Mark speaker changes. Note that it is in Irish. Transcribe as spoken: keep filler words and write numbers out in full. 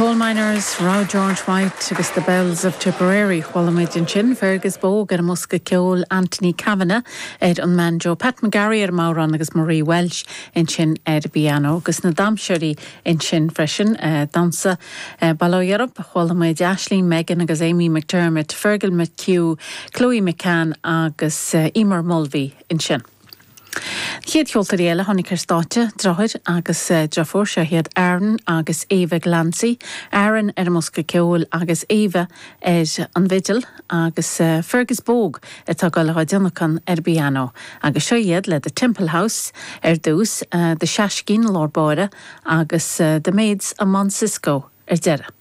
Speaker 1: Coalminers, Raw George White agus the Bells of Tipperary chuala muid ansin Fergus Bogue ar an mbosca ceoil Anthony Kavanagh ar an mbanjo Pat McGarry ar an mbodhrán agus Marie Welsh ansin ar piano agus na damhsóirí ansin freisin uh, damhsa uh, Bail ó Dhia oraibh chuala muid Ashley Megan agus Amy McDermott, Fergal McHugh, Chloe McCann agus uh, Emer Mulvey ansin. Chéad cheoltóirí eile tháinig ar stáitse deartháir agus eh, deirfiúr seo iad Aaron agus Eva Glancy, Aaron ar an mbosca ceoil agus Eva ar an bhfidil agus eh, Fergus Bogue atá go le déanacan ar piano, agus seo iad le The Temple House ar dtús uh, The Shashkin lár báire agus uh, The Maids of Mount Cisco ar deireadh.